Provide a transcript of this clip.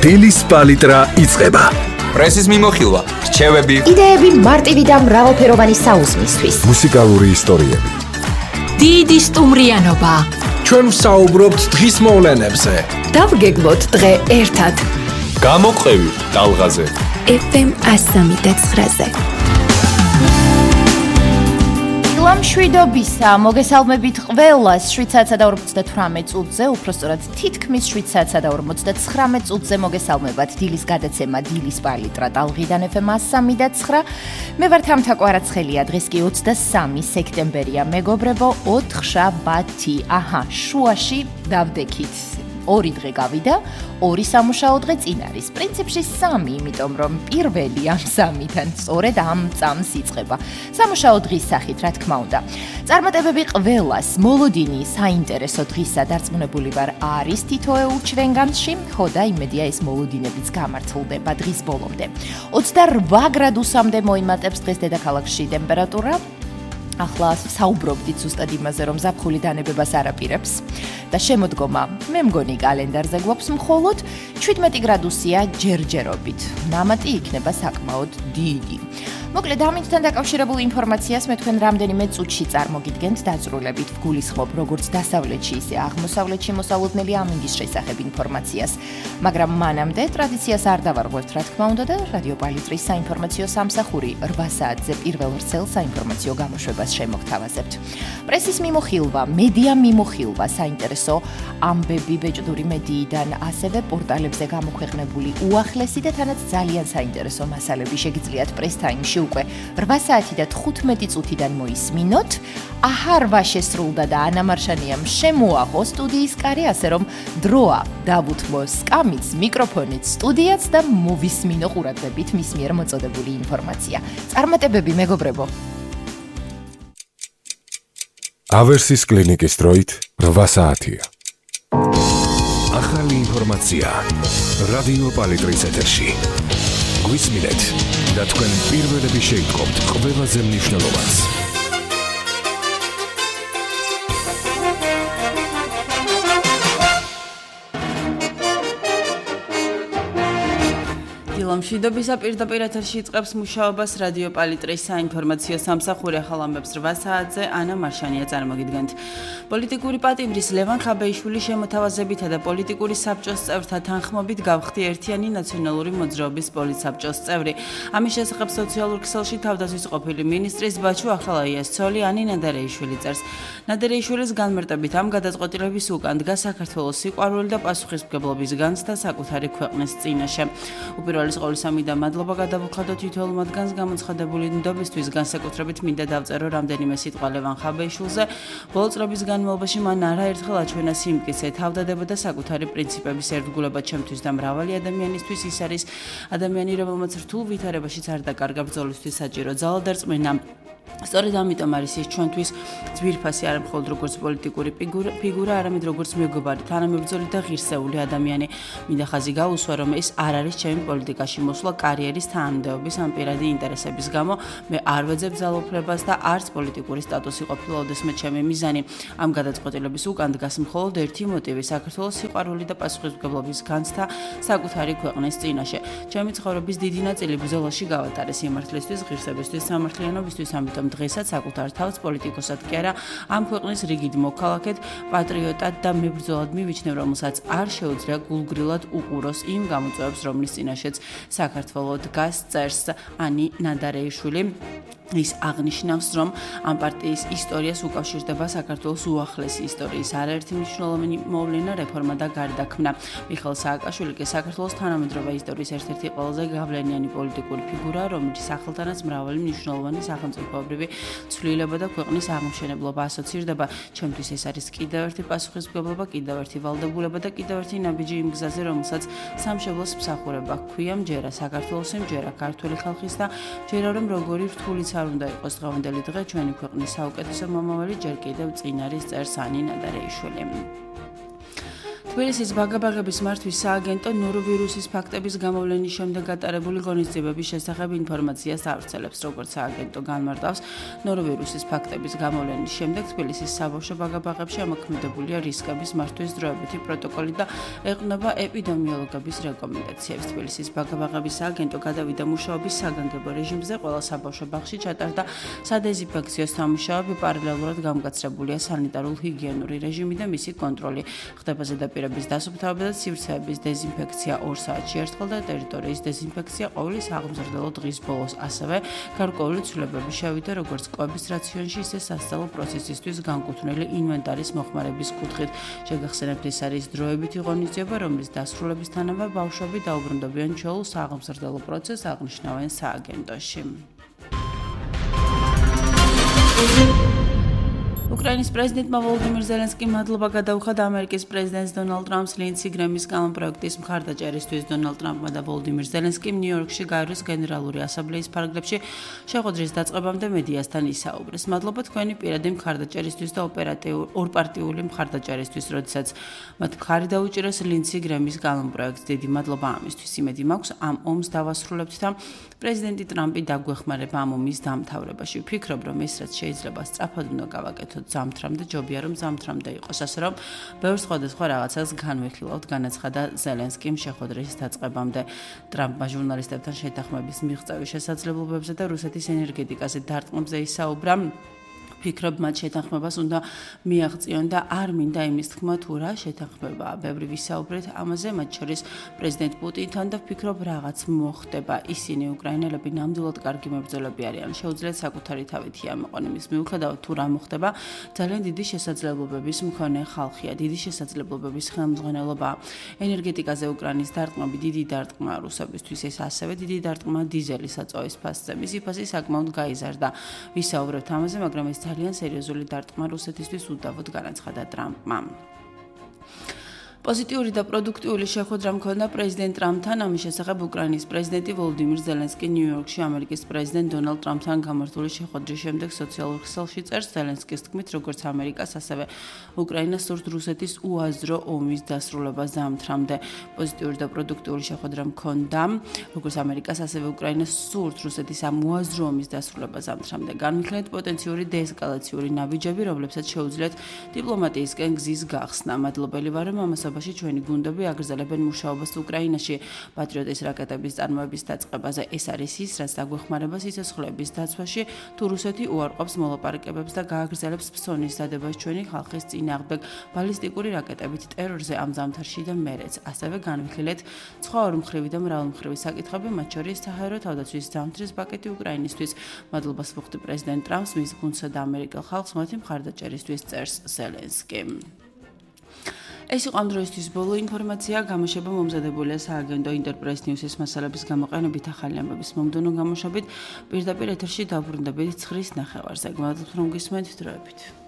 დილის პალიტრა იწყება. პრესის მიმოხილვა, რჩევები, იდეები მარტივი და მრავალფეროვანი საუზმისთვის. მუსიკალური ისტორიები. დიდი სტუმრიანობა. ჩვენ ვსაუბრობთ დღის მოვლენებზე. დავგეგმოთ დღე ერთად. გამოყევი ტალღაზე. FM 103.9-ზე. მშვიდობისა, მოგესალმებით ყველას 7:48 წუთზე, უпростоრად თითქმის 7:49 წუთზე მოგესალმებათ დილის გადაცემა დილის პალიტრა ტალღიდან FM 103.9. მე ვარ თამთა კვარაცხელია, დღეს კი 23 სექტემბერია, მეგობრებო, 4 შაბათი. შუაში დავდექით. 2 დღე გავიდა, 2 სამუშაო დღე წინ არის. პრინციპში 3, იმიტომ რომ პირველი ამ 3-დან სწორედ ამ წამს იწყება. სამუშაო დღის სახით, რა თქმა უნდა. წარმატებები ყველას, მოლოდინი საინტერესო დღისა დარწმუნებული ვარ არის თითოეულ ჩვენგანში, ხო და იმედია ეს მოლოდინებიც გამართლდება დღის ბოლომდე. 28 გრადუსამდე მოიმატებს დღეს დედაქალაქში ტემპერატურა. ახლა საუბრობდით ზუსტად იმაზე, რომ ზაფხული დანებებას არ აპირებს და შემოდგომა, მე მგონი კალენდარზე გვაქვს მხოლოდ 17 გრადუსია ჯერჯერობით. ნამატი იქნება საკმაოდ დიდი. მოკლედ, ამითთან დაკავშირებულ ინფორმაციას მე თქვენ რამდენიმე წუთში წარმოგიდგენთ დაწვრილებით. ვგულისხმობ როგორც დასავლეთში, ისე აღმოსავლეთში მოსალოდნელი ამინდის შესახებ ინფორმაციას. მაგრამ მანამდე ტრადიციას არ დავარღვევთ, რა თქმა უნდა და რადიო პალიტრის საინფორმაციო სამსახური 8 საათზე პირველ ვრცელ საინფორმაციო გამოშვებას შემოგთავაზებთ. პრესის მიმოხილვა, მედია მიმოხილვა, საინტერესო ამბები ბეჭდური მედიიდან, ასევე პორტალებზე გამოქვეყნებული უახლესი და თანაც ძალიან საინტერესო მასალები შეგიძლიათ პრეს ტაიმში უკვე 8 საათი და 15 წუთიდან მოისმინოთ. 8 შესრულდა და ანა მარშანიამ შემოაღო სტუდიის კარი, ასე რომ დროა დავუთმო სკამიც, მიკროფონით სტუდიაც და მოვისმინო ყურადღებით მის მიერ მოწოდებული ინფორმაცია. წარმატებები, მეგობრებო! ავერსის კლინიკის დროით 8 საათია. ახალი ინფორმაცია რადიო პალიტრის ეთერში. გვისმინეთ და თქვენ პირველები შეიტყობთ ყველაზე მნიშვნელოვანს. მშვიდობისა პირდაპირ ეთერში იწყებს მუშაობას რადიო პალიტრის საინფორმაციო სამსახური. ახალ ამბებს 8 საათზე ანა მარშანია წარმოგიდგენთ. პოლიტიკური პატიმრის ლევან ხაბეიშვილის შემოთავაზებითა და პოლიტიკური საბჭოს წევრთა თანხმობით გავხდი ერთიანი ნაციონალური მოძრაობის პოლიტსაბჭოს წევრი. ამის შესახებ სოციალურ ქსელში თავდაცვის ყოფილი მინისტრის ბაჩუ ახალაიას ცოლი ანი ნადარეიშვილი წერს. ნადარეიშვილის განმარტებით ამ გადაწყვეტილების უკან დგას საქართველოს სიყვარული და პასუხისმგებლობის განცდა საკუთარი ქვეყნის წინაშე. უპირველეს ყოვლისა მინდა მადლობა გადავუხადოთ თითოეულ მათგანს გამოცხადებული ნდობისთვის, განსაკუთრებით მინდა დავწერო რამდენიმე სიტყვა ლევან ხაბეიშვილზე. ბოლო წლების განმავლობაში მან არაერთხელ აჩვენა სიმტკიცე, თავდადება და საკუთარი პრინციპების ერთგულება ჩემთვის და მრავალი ადამიანისთვის. ის არის ადამიანი, რომელმაც რთულ ვითარებაშიც არ დაკარგა ბრძოლისთვის საჭირო ძალა და რწმენა. სწორედ ამიტომ არის ის ჩვენთვის ძვირფასი არა მხოლოდ როგორც პოლიტიკური ფიგურა, არამედ როგორც მეგობარი, თანამებრძოლი და ღირსეული ადამიანი. მინდა ხაზი გაუსვა, რომ ეს არ არის ჩემი პოლიტიკაში მოსვლა კარიერის თანამდებობის ან პირადი ინტერესების გამო. მე არ ვეძებ ძალაუფლებას და არც პოლიტიკური სტატუსი ყოფილა ოდესმე ჩემი მიზანი. ამ გადაწყვეტილების უკან დგას მხოლოდ ერთი მოტივი: საქართველოს სიყვარული და პასუხისმგებლობის განცდა საკუთარი ქვეყნის წინაშე. ჩემი ცხოვრების დიდი ნაწილი ბრძოლაში გავატარე სიმართლისთვის, ღირსებისთვის, სამართლიანობისთვის, ამიტომ დღესაც საკუთარ თავს პოლიტიკოსად კი არა, ამ ქვეყნის რიგით მოქალაქედ, პატრიოტად და მებრძოლად მივიჩნევ, რომელსაც არ შეუძლია გულგრილად უყუროს იმ გამოწვევებს, რომლის წინაშეც საქართველო დგას, წერს ანი ნადარეიშვილი. ის აღნიშნავს, რომ ამ პარტიის ისტორიას უკავშირდება საქართველოს უახლესი ისტორიის არაერთი მნიშვნელოვანი მოვლენა, რეფორმა და გარდაქმნა. მიხეილ სააკაშვილი კი საქართველოს თანამედროვე ისტორიის ერთ-ერთი ყველაზე გავლენიანი პოლიტიკური ფიგურა, რომელიც სახელთანაც მრავალი მნიშვნელოვანი სახელმწიფოებრივი ცვლილება და ქვეყნის აღმშენებლობა ასოცირდება. ჩემთვის ეს არის კიდევ ერთი პასუხისმგებლობა, კიდევ ერთი ვალდებულება და კიდევ ერთი ნაბიჯი იმ გზაზე, რომელსაც სამშობლოს მსახურება ჰქვია, მჯერა საქართველოს, მჯერა ქართული ხალხის და მჯერა რომ როგორი რთულიც არ უნდა იყოს დღევანდელი დღე ჩვენი ქვეყნის საუკეთესო მომავალი ჯერ კიდევ წინ არის წერს ანი ნადარეიშვილი. თბილისის ბაგაბაღების მართვის სააგენტო ნოროვირუსის ფაქტების გამოვლენის შემდეგ გატარებული ღონისძიებების შესახებ ინფორმაციას ავრცელებს, როგორც სააგენტო განმარტავს, ნოროვირუსის ფაქტების გამოვლენის შემდეგ თბილისის საბავშვო ბაგაბაღებში ამოქმედებულია რისკების მართვის დროებითი პროტოკოლი და ეყრდნობა ეპიდემიოლოგების რეკომენდაციებს. თბილისის ბაგაბაღების სააგენტო გადავიდა მუშაობის საგანგებო რეჟიმზე, ყველა საბავშვო ბაღში ჩატარდა სადეზინფექციო სამუშაოები, პარალელურად გამკაცრებულია სანიტარულ-ჰიგიენური რეჟიმი და მისი კონტროლი. ხდება ზედაპირების დასუფთავება და სივრცეების დეზინფექცია 2 საათში ერთხელ და ტერიტორიის დეზინფექცია ყოველი საღმრძლო დღის ბოლოს. ასევე გარკვეული ცვლილებები შევიდა როგორც კვების რაციონში, ისე სასწავლო პროცესისთვის განკუთვნილი ინვენტარის მოხმარების კუთხით. შეგახსენებთ, ეს არის დროებითი ღონისძიება, რომლის დასრულებისთანავე ბავშვები დაუბრუნდებიან ჩვეულ საღმრძლო პროცესს, აღნიშნავენ სააგენტოში. უკრაინის პრეზიდენტმა ვოლოდიმირ ზელენსკიმ მადლობა გადაუხადა ამერიკის პრეზიდენტს დონალდ ტრამპს ლინცი გრემის კანონპროექტის მხარდაჭერისთვის. დონალდ ტრამპმა და ვოლოდიმირ ზელენსკიმ ნიუ-იორკში გაივლის გენერალური ასამბლეის ფარგლებში შეხვედრის დაწყებამდე მედიასთან ისაუბრეს. მადლობა თქვენი პირადი მხარდაჭერისთვის და ორპარტიული მხარდაჭერისთვის, როდესაც მათ მხარი დაუჭირეს ლინცი გრემის კანონპროექტს. დიდი მადლობა ამისთვის. იმედი მაქვს, ამ ომს დავასრულებთ და პრეზიდენტი ტრამპი დაგვეხმარება ამ ომის დამთავრებაში. ვფიქრობ, რომ ეს რაც შეიძლება სწრაფად უნდა გავაკეთოთ ზამთრამდე, ჯობია რომ ზამთრამდე იყოს, ასე რომ ბევრ სხვადასხვა რაღაცას განვიხილავთ, განაცხადა ზელენსკიმ შეხვედრის დაწყებამდე. ტრამპმა ჟურნალისტებთან შეთანხმების მიღწევის შესაძლებლობებზე და რუსეთის ენერგეტიკაზე დარტყმებზე ისაუბრა. ვფიქრობ, მათ შეთანხმებას უნდა მიაღწიონ და არ მინდა იმის თქმა თუ რა შეთანხმებაა. ბევრი ვისაუბრეთ ამაზე, მათ შორის პრეზიდენტ პუტინთან და ვფიქრობ, რაღაც მოხდება. ისინი უკრაინელები ნამდვილად კარგი მებრძოლები არიან. შეუძლიათ საკუთარი თავითი ამოყონ იმის მიუხედავად თუ რა მოხდება. ძალიან დიდი შესაძლებლობების მქონე ხალხია, დიდი შესაძლებლობების ხელმძღვანელობაა. ენერგეტიკაზე უკრაინის დარტყმები დიდი დარტყმა რუსებისთვის, ეს ასევე დიდი დარტყმა დიზელის საწვავის ფასზე. მისი ფასი საკმაოდ გაიზარდა. ვისაუბრებთ ამაზე, მაგრამ ეს ძალიან სერიოზული დარტყმა რუსეთისთვის უდავოდ განაცხადა ტრამპმა. პოზიტიური და პროდუქტიული შეხვედრა მქონდა პრეზიდენტ ტრამპთან. ამის შესახებ უკრაინის პრეზიდენტი ვოლოდიმირ ზელენსკი ნიუ-იორკში ამერიკის პრეზიდენტ დონალდ ტრამპთან გამართული შეხვედრის შემდეგ სოციალურ ქსელში წერს. ზელენსკის თქმით, როგორც ამერიკას, ასევე უკრაინას სურთ რუსეთის უაზრო ომის დასრულება ზამთრამდე. პოზიტიური და პროდუქტიული შეხვედრა მქონდა, როგორც ამერიკას, ასევე უკრაინას სურთ რუსეთის ამ უაზრო ომის დასრულება ზამთრამდე. განვიხილეთ პოტენციური დეესკალაციური ნაბიჯები, რომლებსაც შეუძლიათ დიპლომატიისკენ გზის გახსნა. მადლობელი ვარ, რომ ამას ჩვენი გუნდები აგრძელებენ მუშაობას უკრაინაში პატრიოტის რაკეტების წარმოების დაწყებაზე. ეს არის ის, რაც დაგვეხმარება სიცოცხლეების დაცვაში, თუ რუსეთი უარყოფს მოლაპარაკებებს და გააგრძელებს ფსონის დადებას ჩვენი ხალხის წინააღმდეგ ბალისტიკური რაკეტებით ტერორზე ამ ზამთარში და მერეც. ასევე განვიხილეთ სხვა ორმხრივი და მრავალმხრივი საკითხები, მათ შორის საჰაერო თავდაცვის ზამთრის პაკეტი უკრაინისთვის. მადლობას ვუხდი პრეზიდენტ ტრამპს, მის გუნდსა და ამერიკელ ხალხს მათი მხარდაჭერისთვის, წერს ზელენსკიმ. ეს იყო ამ დროისთვის ბოლო ინფორმაცია. გამოშვება მომზადებულია სააგენტო ინტერპრეს ნიუსის მასალების გამოყენებით ახალი ამბების მომდევნო გამოშვებით. პირდაპირ ეთერში დავბრუნდებით 9:00-ზე. გმადლობთ, რომ გისმენთ დროებით.